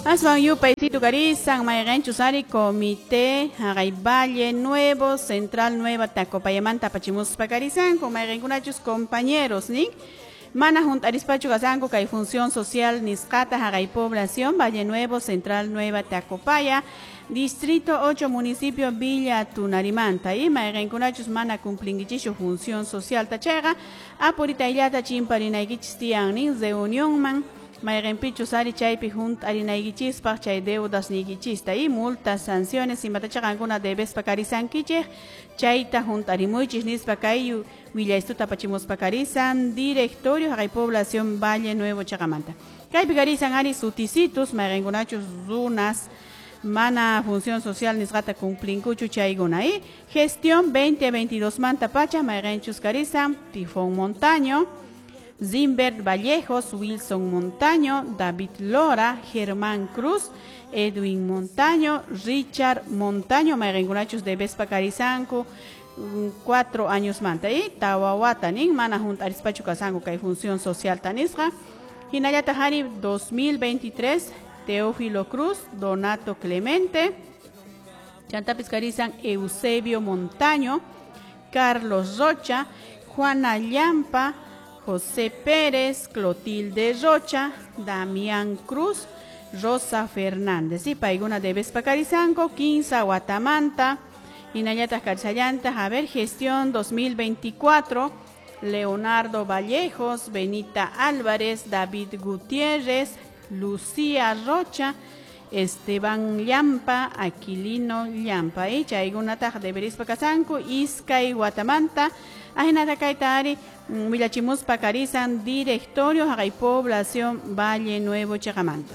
Aswan yupaysitu karisan mayqinchus ari comité haqay Valle Nuevo Central Nueva Tacopayamanta apachimuspa karisanku mayqinkunachus compañeros nin mana hunt'arispachu kasanku kay función social nisqata haqay población Valle Nuevo Central Nueva Tacopaya Distrito 8 municipio Villa Tunarimanta y mayqinkunachus mana cumplinkichikchu función social chayqa apuritayllata chimparinaykichis tiyan nin reunionman mayqinpichus ari chaypi hunt'arinaykichispaq chay deudas niykichista y multas sanciones imatacha qankuna debespa karisankichik chayta hunt'arimuychis nispa kay willaystuta apachimuspa karisan directorio haqay población Valle Nuevo chaqamanta kaypi karisan ari sutisitus mayqinkunachus runas mana función social nisqata cumplinkuchu chaykuna y gestión 2022 manta pacha mayqinchus karisan Tifón Montaño, Zimbert Vallejos, Wilson Montaño, David Lora, Germán Cruz, Edwin Montaño, Richard Montaño, mayqinkunachus debespa karisanku 4 años manta y tawawata nin mana hunt'arispachu kasanku kay función social tanisqa hinallataq ari 2023 Teófilo Cruz, Donato Clemente, chantapis karisan Eusebio Montaño, Carlos Rocha, Juana Llampa, José Pérez, Clotilde Rocha, Damián Cruz, Rosa Fernández. Y paykuna debespa karisanku, 15 watamanta, hinallataq karisallantaq, a ver, gestión 2024, Leonardo Vallejos, Benita Álvarez, David Gutiérrez, Lucía Rocha, Esteban Llampa, Aquilino Llampa. Y chaykunataq deberispa kasanku, iskay watamanta, ahinata kayta ari willachimuspa karisan directorio haqay población Valle Nuevo chaqamanta.